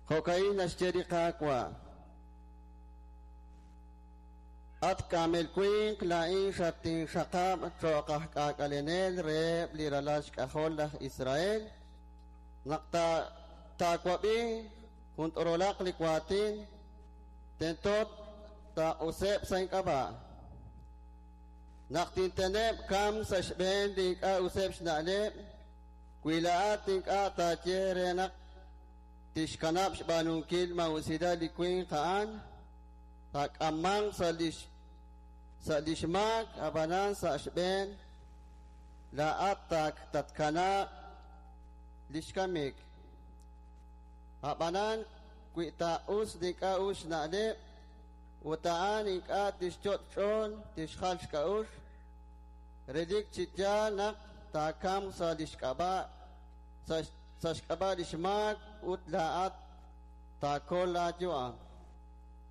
Jo'ka'in naxye li Qaawa': At kaamel winq, laa'in xatinxaqab' cho'q aj k'aak'alenel reheb' li ralal xk'ajol laj Israel. Naq taawab'i jun t'orolaq li waatin, tento taaq'useb' sa' ink'ab'a'. Naq tinteneb' kamk sa' xb'een li ink'a' useb' xna'leb', wi laa'at ink'a' taaye re naq tixkanab' xb'aanunkil maa'usilal li winq a'an, taak'ammanq sa' li xmaak, ab'anan sa' xb'een laa'at tatkanaaq li xkamik. Ab'anan wi taaq'us li ink'a' us xna'leb' ut a'an ink'a' tixyot' xch'ool tixjal xk'a'uxl, relik chi yaal naq taakamq sa' li xk'ab'a' sa' xk'ab'a' li xmaak ut laa'at taakol laayu'am.